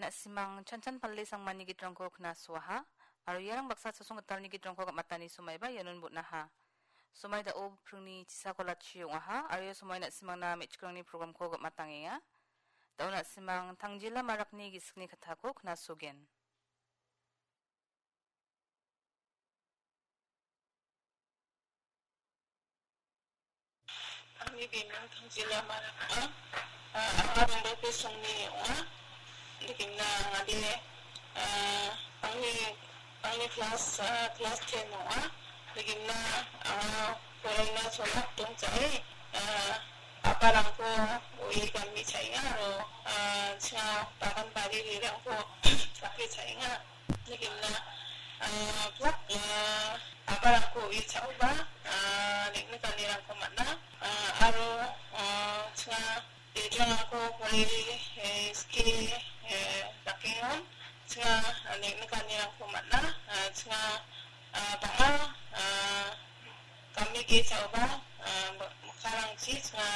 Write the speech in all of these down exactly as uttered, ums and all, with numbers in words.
Na·simang chanchan palle sangmani gitrangko knasuaha, aro iarang baksa chasong gitalni gitrangko gam·atani somaiba ianon bon·aha. Somai da·o pringni chisako latchi ong·aha, aro ia somai na·simangna me·chikrangni programko gam·atangenga. Da·o na·simang tangjila marakni gisikni kattako knasogen. Angni bimung Tangjila Marak ong·a. Ah, anga Mumbai Songni ong·a. Nikimna angade, ah, angni, angni class, ah, class ten ong·a. Nikimna anga poraina solak dongjae, ah, a·parangko ue gami chaenga aro, ah, chinga bagan bari rirangko gake chaenga. Nikimna, ah, plak, ah, a·parangko ue cha·oba, ah, neng·nikanirangko man·a, ah, aro, ah, chinga bidrangko poreri, eh, ske, eh, dakengon, chinga, ah, neng·nikanirangko man·a, ah, chinga, ah, bang·a, ah, gami ge cha·oba, ah, mikkangrangchi chinga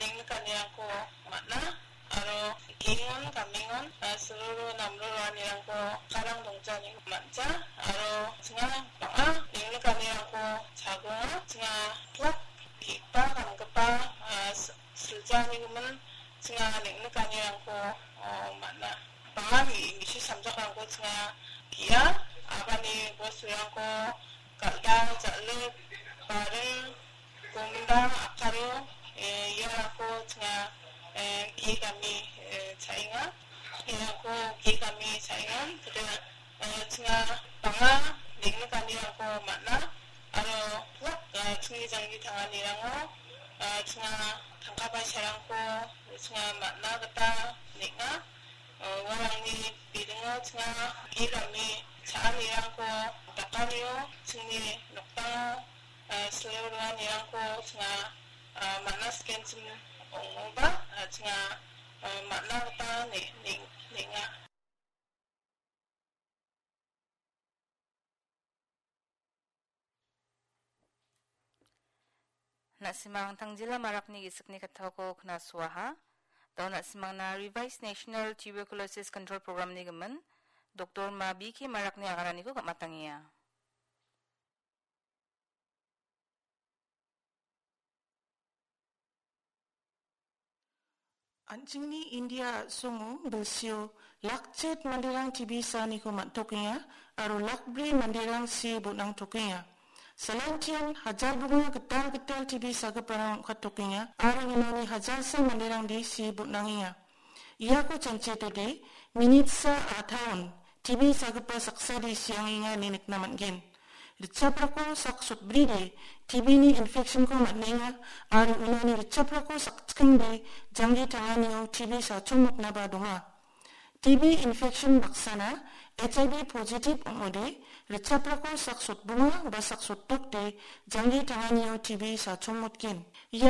neng·nikanirangko man·a. Aro gengon, gamengon, ah, silruru namru roanirangko karang dongjaniko man·ja. Aro chinga bang·a neng·nikanirangko chagonga. Chinga plak ge·gipa, gamgipa, ah, s-, siljanikomin chinga neng·nikanirangko, oh, man·a. Bang·a mi-, misi samjakrangko chinga ge·a, a·bani bosturangko Kal·dang, jal·ik, baring, gomdang, akaro, eh, iarangko chinga, eh, ge·gami, eh, cha·enga. Iarangko ge·gami cha·enga. Kedo, eh, chinga bang·a neng·nikanirangko man·a. Aro plak, eh, chingni janggi tanganirango, eh, chinga tangka paisarangko chinga man·na gita neng·a. Eh, uarangni bidingo chinga ge·gami cha·anirangko dakanio chingni nokdango, eh, sile roanirangko chinga, eh, man·a sikenchim ong·oba, eh, chinga, eh, man·na gita ne-, neng-, neng·a. Na·simang tangjila marakni gisikni kattako knasuaha. Da·o na·simangna Revised National Tuberculosis Control Programni gimin, Doktor Ma B K Marakni agananiko gam·atangenga. An·chingni India a·songo bilsio lakchet manderang T B saaniko man·tokenga aro lakbri manderang see bon·angtokenga. Salantian hajar bonga gital gital T B sagiparang ong·katokenga aro unoni hajarsa manderangde see bon·angenga. Iako chanchiatode minitsa a·taon T B sagipa saksade siangenga ine nikna man·gen. Richaprako sak sotbride T B-ni infection-ko man·enga aro unoni richaprako sakchikengde janggi tanganio T B sachongmotnaba donga. T B infection baksana H I V positive ong·ode richaprako sak sotbonga ba sak sotdokde janggi tanganio T B sachongmotgen. Ia